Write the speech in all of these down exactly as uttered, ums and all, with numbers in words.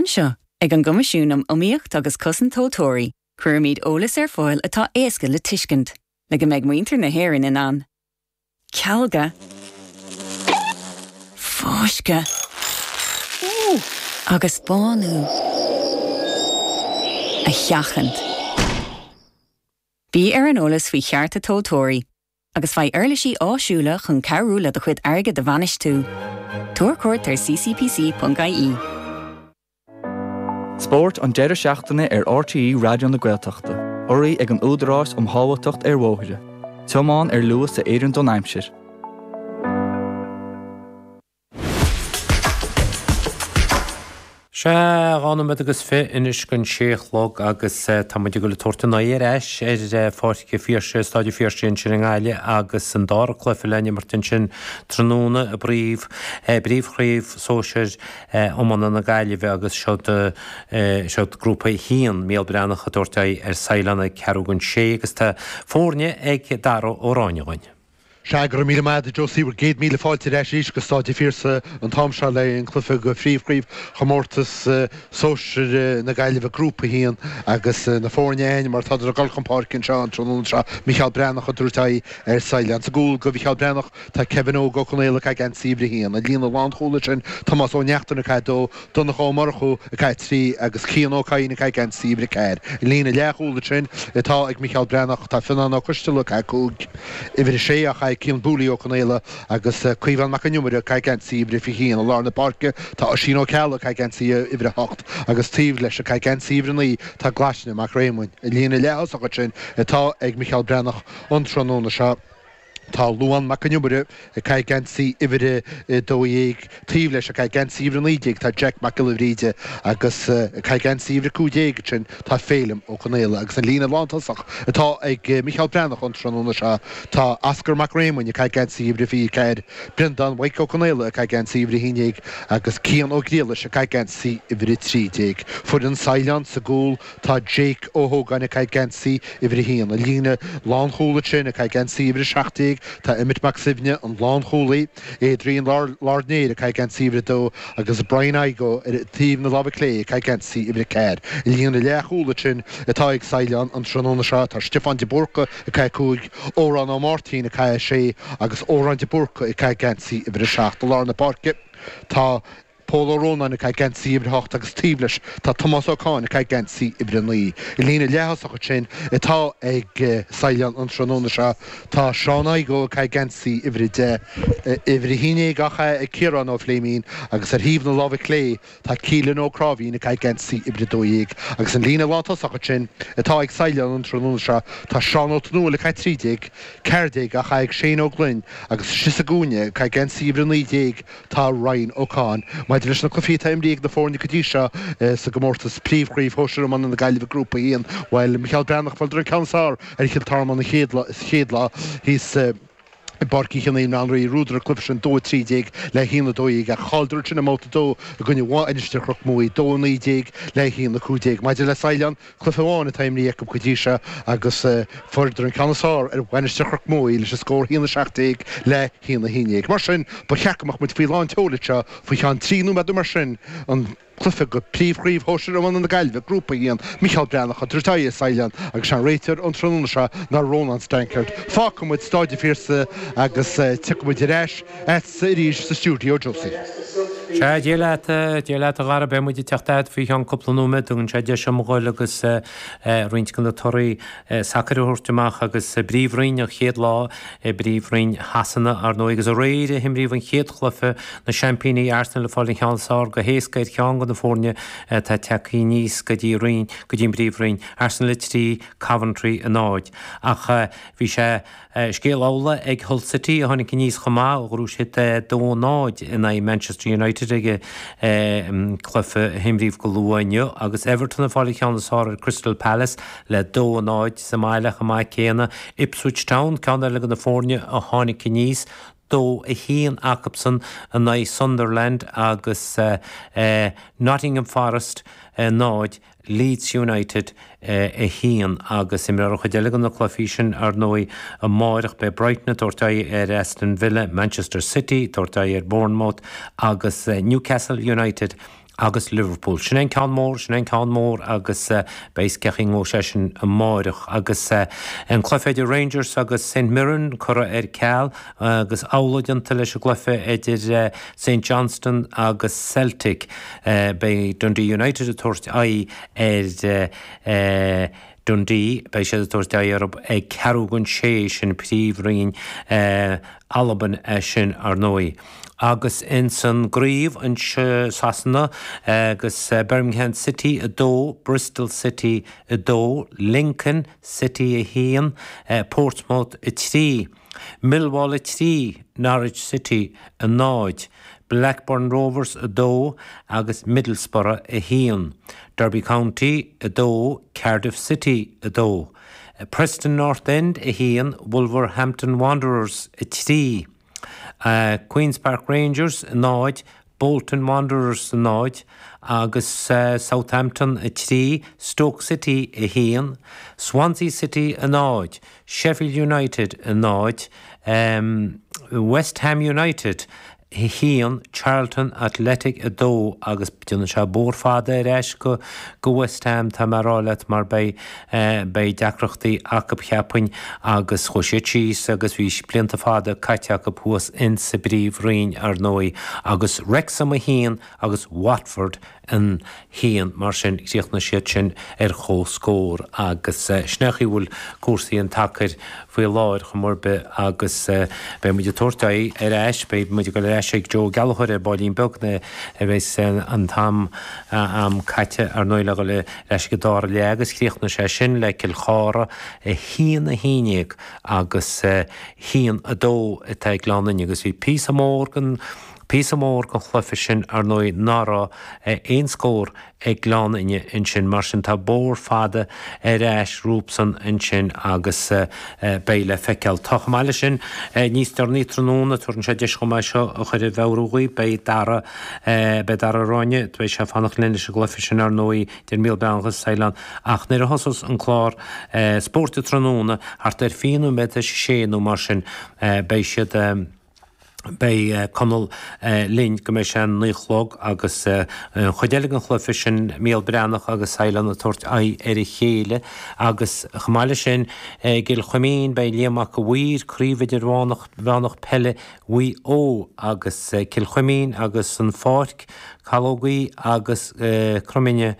Anseo, ag an gCoimisiún um Iomaíocht agus Cosaint Tomhaltóirí, cuirimid eolas ar fáil atá éasca le tuiscint, le go mbeidh muintir na hÉireann in ann. Cealga fáisceadh agus bánú a sheachaint. Bí ar an eolas faoi chearta tomhaltóirí, agus faigh uirlisí áisiúla chun cabhrú le do chuid airgid a bhainistiú. Tabhair cuairt ar ccpc.ie. Spórt an deireadh seachtaine ar RTÉ Raidió na Gaeltachta, urraithe ag an Údarás um Shábháilteacht ar Bhóithre. Tiomáin ar luas a oireann don aimsir. Sea, dhá nóiméad agus fiche anois don sé a chlog agus tá muid ag dul ag tabhairt an aghaidh ar ais ar Pháirc an Phiarsaigh, Staid an Phiarsaigh ansin i nGaillimh agus an dara cluiche le n-imirt ansin tráthnóna i bpríomh, bpríomhchraobh sóisir iomána na Gaillimhe agus seod, seod grúpa a haon, Mícheál Breathnach ag tabhairt aghaidh ar Saighleán ag ceathrú don sé agus tá foirne ag Dara Ó Ráinne dhúinn. Sea, go raibh míle maith agat a Josie, bhur gcéad míle fáilte ar ais arís go Stáid an Phiarsaigh an t-am seo le an cluiche go phríomhchraobh chomórtas sóisir na Gaillimhe Grúpa a haon agus na foirne againn mar tádar ag dul chun páirce anseo an tráthnóna seo Micheál Breathnach ag tabhairt aghaidh ar Saighleán. Sa gcúl go Mhicheál Breathnach tá Kevin Óg Ó Conaola ag caitheamh geansaí uimhir a haon. An líne lánchúil ansin Tomás Ó Neachtain ag caitheamh a dó, Donncha Ó Murchú ag caitheamh trí agus Cian Ó Cadhain ag caitheamh geansaí uimhir a ceathair. An líne leathchúil ansin atá ag Micheál Breathnach tá Fionnán Ó Coisteala ag caitheamh cúig, uimhir a sé á chaitheamh ag Cian Booley Ó Conaola agus Caomhán Mac an Iomaire ag caitheamh geansaí uimhir a fiche haon. I lár na páirce tá Oisín Ó Ceallaigh ag caitheamh geansaí uimhir a hocht agus taobh leis ag caitheamh geansaí uimhir a naoi tá Glaisne Mac Réamoinn. An líne leath-thosach ansin atá ag Micheál Breathnach an tráthnóna seo. Tá Luán Mac an Iomaire ag caitheamh geansaí uimhir a dó dhéag, taobh leis ag caitheamh geansaí uimhir a naoi déag tá Jack Mac Giolla Bhríde agus ag caitheamh geansaí uimhir a cúig déag ansin tá Féilim Ó Conaola agus an líne lántosach atá ag Micheál Breathnach an tráthnóna seo tá Oscar Mac Réamoinn ag caitheamh geansaí uimhir a fiche ceathair, Breandán Mhaidhc Ó Conaola ag caitheamh geansaí uimhir a haon déag agus Cian Ó Griallais ag caitheamh geansaí uimhir a trí déag. Foireann Saighleán sa gcúl tá Jake Ó hÓgáin ag caitheamh geansaí uimhir a haon. An líne lánchúil ansin ag caitheamh geansaí uimhir a seacht déag tá Emmet Mac Suibhne, an lánchúlaí, Adrian Lardner ag caitheamh geansaí uimhir a dó agus Brian Igoe ar taobh na láimhe clé ag caitheamh geansaí uimhir a ceathair. An líne leathchúil ansin atá ag Saighleán an tráthnóna seo tá Stiofán de Búrca ag caitheamh cúig, Odhrán Ó Máirtín ag caitheamh sé agus Odhrán de Búrca ag caitheamh geansaí uimhir a seacht. I lár na páirce tá Pól Ó Rónáin ag caitheamh geansaí uimhir a hocht agus taobh leis tá Tomás Ó Cadhain ag caitheamh geansaí uimhir a naoi. An líne leath-thosach ansin atá ag Saighleán an tráthnóna seo tá Seán Igoe ag caitheamh geansaí uimhir a deich, uimhir a haon déag á chaitheamh ag Ciarán Ó Fléimín agus ar thaobh na láimhe clé tá Keelan Ó Cráimhín ag caitheamh geansaí uimhir a dó dhéag agus an líne lántosach ansin atá ag Saighleán an tráthnóna seo tá Seán Ó Tonúil ag caitheamh trí déag, ceathair déag á chaitheamh ag Shane Ó Gloinn agus istigh sa gcúinne ag caitheamh geansaí uimhir a naoi déag Tá Ryan Ó Cadhain. Maidir leis na cluichí atá imrithe ag na foirne go dtí seo sa gcomórtas Príomhchraobh Shóisir Iomána na Gaillimhe Grúpa a haon, bhuel, Micheál Breathnach, fuaireadar an ceann is fearr ar Chill Tormáin an chéad lá, sa chéad lá thíos i bPáirc Uí Chionnaith i mBaile Átha an Rí. Bhuadar an cluiche sin dó a trí déag le haon a dó dhéag ach chailleadar ansin i mbabhta a dó i gcoinne Mhainistir Chnoc Muaidhe, dó a naoi déag le haon a cúig déag. Maidir le Saighleán, Cluiche amháin atá imrithe acu go dtí seo agus fuaireadar an ceann is fearr ar Mhainistir Chnoc Muaidhe leis an scór a haon a seacht déag le haon a haon déag. Mar sin, ba cheart go mbeadh muid faoi lán tseoil anseo faoi cheann trí nóiméad nó mar sin, an cluiche go Príomhchraobh Shóisir Iomána na Gaillimhe, Grúpa a haon, Micheál Breathnach ag tabhairt aghaidh ar Saighleán agus sé an réiteoir an tráthnóna seo ná Rónán Stankard. Fágfaidh muid Stáid an Phiarsaigh agus tiocfaidh muid ar ais agatsa arís sa stiúideo, Josie. Sea, Dia leat, Dia leat a Dhara, beidh muid ag teacht agat faoi cheann cúpla nóiméad, tugann sé deis dom a ghoil agus roinnt de na torthaí sacair a thabhairt amach agus i bPríomhroinn an chéad lá i bPríomhroinn Shasana, ar ndóigh, agus aréir a himríodh an chéad chluiche, na seaimpíní Arsenal ag fáil an cheann is fearr go héasca ar cheann de na foirne atá tagtha aníos go dtí roinn, go dtí an bPríomhroinn, Arsenal a trí, Coventry a náid. Ach bhí sé. Scéal amhlaidh ag Hull City a tháinig aníos chomh maith, ghnóthaigh siad dó a náid in aghaidh Manchester United ag an cluiche a himríodh go luath inniu agus Everton ag fáil an cheann is fearr ar Crystal Palace le dó a náid sa mbaile chomh maith céanna. Ipswich Town, ceann eile de na foirne a tháinig aníos, dó a haon acusan in aghaidh Sunderland agus Nottingham Forest náid, Leeds United a haon agus imreofar an chuid eile de na cluichí sin ar ndóigh amáireach. Beidh Brighton ag tabhairt aghaidh ar Aston Villa, Manchester City ag tabhairt aghaidh ar Bournemouth agus Newcastle United agus Liverpool. Sin an ceann mór, sin an ceann mór agus beidh cén chaoi a ngabhfaidh sé sin amáireach agus an cluiche idir Rangers agus St Mirren curtha ar ceal agus amhlaidh déanta leis an gcluiche idir St Johnstone agus Celtic. Beidh Dundee United ag tabhairt aghaidh ar Dundee, beidh siad ag tabhairt aghaidh orthu ag ceathrú don sé sin príomhroinn Albain é sin ar ndóigh. Agus ins an gcraobh in Sasana agus Birmingham City a dó, Bristol City a dó, Lincoln City a haon, Portsmouth a trí, Millwall a trí, Norwich City a náid, Blackburn Rovers a dó agus Middlesbrough a haon, Derby County a dó, Cardiff City a dó, Preston North End a haon, Wolverhampton Wanderers a trí, uh, Queen's Park Rangers a náid, Bolton Wanderers a náid agus uh, Southampton a trí, Stoke City a haon, Swansea City a náid, Sheffield United a náid, um, West Ham United a haon Charlton Athletic a dó agus déanann sé bóthar fada ar ais go go West Ham tá mé ag rá leat mar beidh eh, beidh deacrachtaí acu cheapfainn agus chuaigh siad síos agus bhí blianta fada caite acu thuas in sa bpríomhroinn ar ndóigh agus Wrexham a haon agus Watford a haon mar sin chríochnaigh siad sin ar chomhscór agus eh, sin é an chaoi a bhfuil cúrsaí an tsacair faoi láthair chomh mór be agus eh, beidh muid ag tabhairt aghaidh ar ais beidh muid ag dul ar ais ag Joe Gallagher ar baillín beag na a bheas an t-am am caite ar ndóigh le dhul ar ais go dara leath agus chríochnaigh sé sin le Cill Chartha a haon a haon déag agus haon a dó atá ag Gleann Fhinne agus bhí píosa mór den píosa mór den chluiche sin ar ndóigh nach raibh aon scór ag Gleann Fhinne ansin mar sin tá bóthar fada ar ais rompusan ansin agus beidh le feiceáil. Tá chomh maith leis sin níos deireanaí tráthnóna tugann sé deis chomh maith seo a chur i bhfeabhrú dhaoibh beidh Dara beidh Dara Ráine beidh sé fanacht linn leis an gcluiche sin ar ndóigh idir Mícheál Breathnach agus Saighleán ach nuair a thosós an clár spóirt tráthnóna thart ar fiche nóiméad tar éis a sé nó mar sin beidh siad Beidh Conall linn go mbeidh sé naoi a chlog agus an chuid eile den chluiche sin Mícheál Breathnach agus Saighleán ag tabhairt aghaidh ar a chéile agus chomh maith leis sin i gCill Chuimín beidh Liam Mac a' Mhaoir craobh idirmheánach mheánach peile Mhaigh Eo agus Cill Chuimín agus an Pháirc Calógaí agus Crominne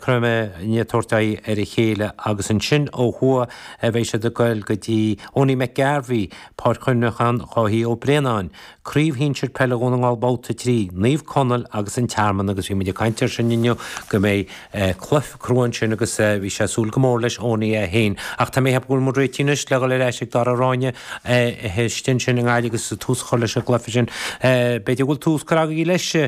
Croime ag tabhairt aghaidh ar a chéile agus ansin ó thuaidh beidh siad ag goil go dtí Owenie McGarvey Páirc Chuimhneacháin Dháithí Ó Braonáin Craobh Shinsir Peile Dhún na nGall Babhta trí Naomh Conaill agus an Tearmann agus bhí muid ag caint air sin inniu go mbeidh cluiche crua ansin agus bhí sé ag súil go mór leis Owenie é féin ach tá mé ag ceapadh go bhfuil muid réitithe anois le dhul ar ais ag Dara Ráine istigh ansin i nGaillimh agus tús a chur leis an gcluiche sin. B'fhéidir go bhfuil tús curtha agaibh leis a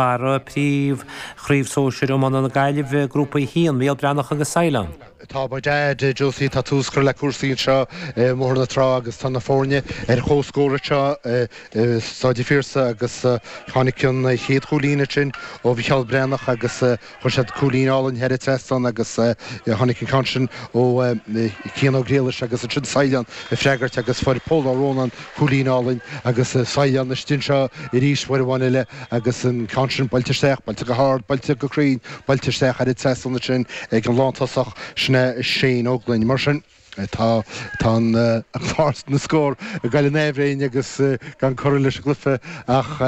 Dhara príomh chraobh sóisir iomána na Gaillimhe grúpa a haon Mícheál Breathnach agus Saighleán. Tá muid a Josie tá tús curtha le cúrsaí anseo i mBóthar na Trá agus tá na foirne ar chomhscór anseo i Staid an Phiarsaigh agus tháinig an chéad chúilín ansin ó Mhícheál Breathnach agus chuir siad cúilín álainn thar an trasnán agus tháinig an ceann sin ó Cian Ó Griallais agus ansin Saighleán ag freagairt agus fuair Pól Ó Rónáin cúilín álainn agus Saighleán istigh anseo arís uair amháin eile agus an ceann sin buailte isteach, buailte go hard, buailte go cruinn, buailte isteach ar an trasnán ansin ag an lántosach sin é Shane Ó Gloinn. Mar sin tá tá an clár na scór ag goil in aimhréidh agus gan curtha leis an gcluiche ach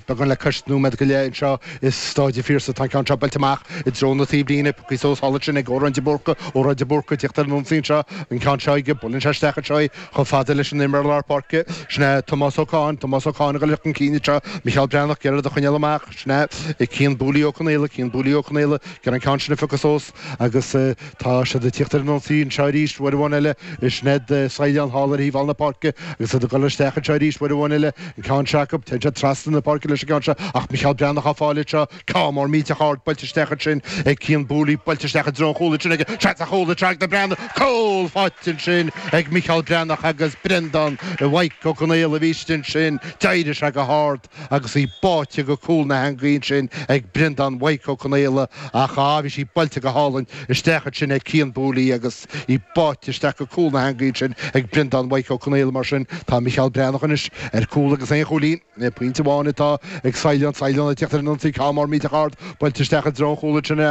beagán le cois nóiméad go leith anseo i Staid an Phiarsaigh. Tá an ceann seo buailte amach i dtreo na taobhlíne, pioctha suas thall ansin ag Odhrán de Búrca, Odhrán de Búrca ag tíocht ar an ionsaí anseo, an ceann seo aige, buaileann sé isteach anseo é chomh fada leis an imreoir lár páirce, sin é Tomás Ó Cadhain, Tomás Ó Cadhain ag dul chun cinn anseo, Micheál Breathnach ag iarraidh é a choinneáil amach, sin é Cian Booley Ó Conaola, Cian Booley Ó Conaola, ag iarraidh an ceann sin a phiocadh suas agus tá siad ag tíocht ar an ionsaí anseo arís uair amháin eile, sin iad Saighleán thall ar thaobh thall na páirce agus iad ag dul isteach anseo arís uair amháin eile, an ceann seo acu, téann siad trasna na páirce leis an gceann seo ach Micheál Breathnach á fáil anseo, ceann mór millteach ard buailte isteach ansin ag Cian Booley, buailte isteach i dtreo an chúil ansin aige, seans ar chúl anseo ag na Breathnaigh, cúl faighte ansin ag Micheál Breathnach agus Breandán Mhaidhc Ó Conaola a bhí istigh ansin, d'éirigh sé go hard agus í báite go cúl na heangaí ansin ag Breandán Mhaidhc Ó Conaola ach á bhí sí buailte go hálainn isteach ansin ag Cian Booley agus í báite isteach isteach go cúl na heangaí sin ag Breandán Mhaidhc Ó Conaola mar sin tá Micheál Breathnach anois ar cúl agus aon chúilín pointe amháin atá ag Saighleán Saighleán ag teacht ar an ionsaí ceann mór millteach ard buailte isteach i dtreo an chúil sin